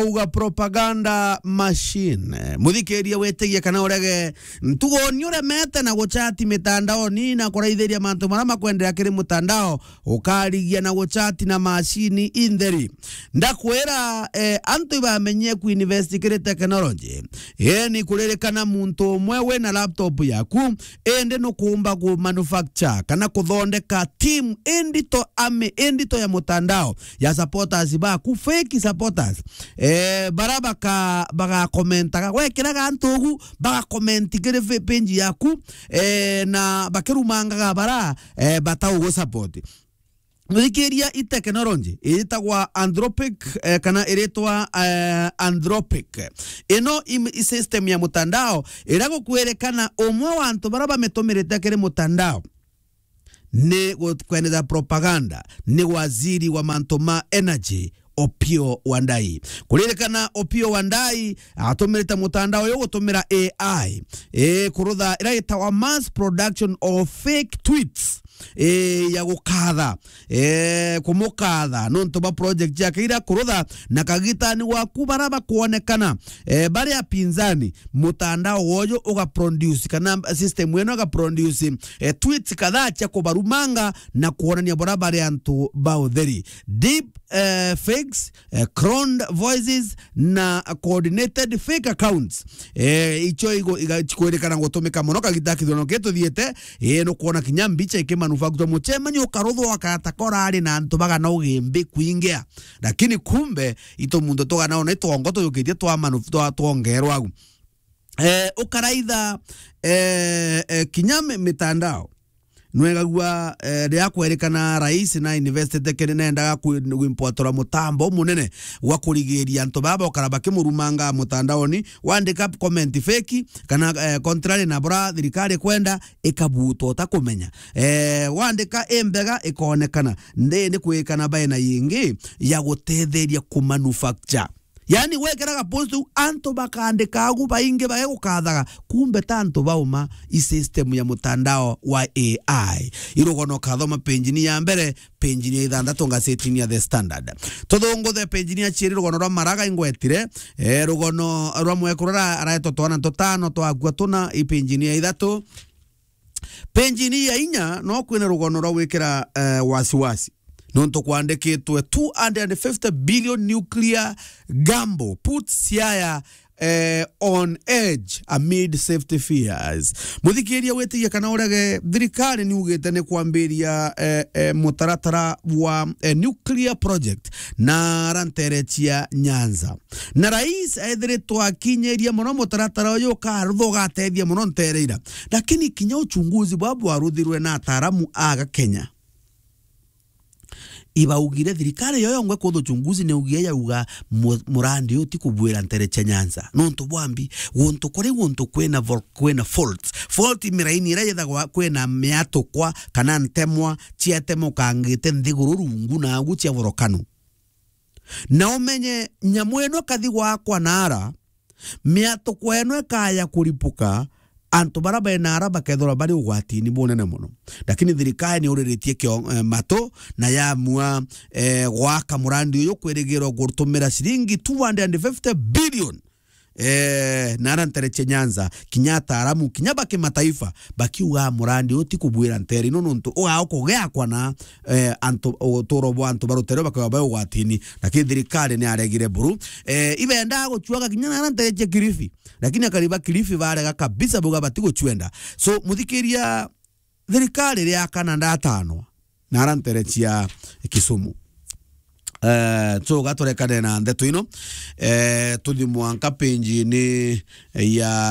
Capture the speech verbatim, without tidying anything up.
Uga propaganda machine. Muthikiria witigie kana urege, ntugo ni uremete na guchati mitandaoni na kuraithiria mantu maria makwendera kiri mutandao, ukarigia na guchati na machine intheri. Ndakwira, eh, antu ibamenyie kuinvest kiri technology. Eni kuririkana muntu umwe wina laptop yaku, indi nukuumba ku manufacture kana kuthondeka team indito, army indito ya mutandao ya supporters baku, fake supporters. Eh, bara baka-, bagakomentaga, gwekiraga antu ugu, bagakomenti kiri fa-, page yaku, eh, na bakirumangaga bara, eh, bataugusupport. Muthikiria, i technology itagwa Anthropic, eh, kana iritwa, eh, Anthropic. Ino i, i system ya mutandao iria gukwirikana umwe wa antu bara bamitumirite kiri mutandao ni gu-, kweneza propaganda ni waziri wa mantu ma energy, Opiyo Wandayi. Kuririkana, Opiyo Wandayi atumirite mutandao uyu gutumira A I, eh, kurutha iria itagwa mass production of fake tweets, eh, ya gukatha, eh, kumukatha nontu bwa project yake iria kurutha, na kagitani waku bara bakwonekana, eh, bari apinzani, mutandao woyo ugaproduce, kana system ino igaproduce, eh, tweets kadhaa cia kubarumanga na kuonania bora bari antu ba utheri. Deep, eh, fakes, eh, cloned voices na coordinated fake accounts. Eh, icio igo-, iga-, cikwirikana gutumika muno kagita kithurano giki tuthiite. Eh, nukwona kinya mbicha ikimanufacture, mucemanio ukaruthwa ukaata korari na antu bagana ugimbi kwingia. Lakini kumbe, itu muntu tugana ona itwongo tuyukitie twa manu-, twa-, twongerwa au. Eh, ukaraitha, eh, eh, kinya mi-, mitandao. Nwegagua, eh, riria kwerikana rais na investete kiri nendaga kwi-, kwimpwatura mutambo umunene wa kurigiria antu baba ukara bakimurumanga mutandaoni, wandika comment fake, kana, eh, contrary na bura thirikari kwenda, ikabutwa utakumenya. Eh, wandika imbega ikonekana. Ndi ni kwikana bae na yingi ya gutetheria kumanufacture. Yani, gwekiraga post u, antu bakandika agu baingi bagegukathaga, kumbe ta antu bauma i system ya mutandao wa A I. Irugono kathoma page ni ya mbere, page ni ya ithanthatu ngazetini ya The Standard. Tuthunguthe page ni ya cieri, rugono rwa Maraga ingwetire, eh, rugono rwa mwekuru ara-, araetwa twana tutano twakua tuna, i page ni ya ithatu. Page ni ya inya, no kwina rugono rwa gwikira, eh, wasiwasi. Nontu kwandikitwe, two hundred fifty billion nuclear gamble puts Siaya, eh, on edge amid safety fears. Muthikiria witigie kana urege, thirikari niugite ni kwambiria, eh, eh, mutaratara wa, eh, nuclear project na aranterecia Nyanza. Na rais ethiritwe akinyiria muno mutaratara uyu ukarutha ugatethia muno ntereira. Lakini kinya uchunguzi bwa bwaruthirwe na ataaramu aga Kenya, ibaugire thirikari yo yongwe kutha uchunguzi ni ugie yauga mu-, murandi uyu ti kubuira ntere cia Nyanza. Nontu bwambi, guntu kuri guntu kwina vol-, kwina faults. Fault i miraini iria yethagwa kwina miatukwa kana ntemwa ciatemukangite nthiguru rungu na agu cia volcano. Na umenye nyamu ino ikathi gwakwa naara, miatukwa ino ikaya kuripuka, antu bara bena ara bakethirwa bari ugwatini bunene muno. Lakini thirikari ni uriritie kio-, eh, matu na yamua, eh, gwaka murandi uyu kwirigirwa gutumira ciringi two hundred fifty billion. Eh, na ara ntere cia Nyanza, kinya ataaramu, kinya ba kimataifa, bakiuga murandi uyu ti kubuira ntere ino nontu ugaa ukugiakwa na, eh, antu, uturo bwa antu ba rutere bakaba bai ugwatini, lakini thirikari ni aregire buru. Eh, ibendaa gucuaga kinya na ara ntere cia Kilifi, lakini akari ba Kilifi barega kabisa, buga bati gucuenda. So, muthikiria, thirikari ria kana ndatanwa na ara ntere cia Kisumu. Eh, so gaturekane na ndeto ino. Eh, tuthi mwanka page ni ya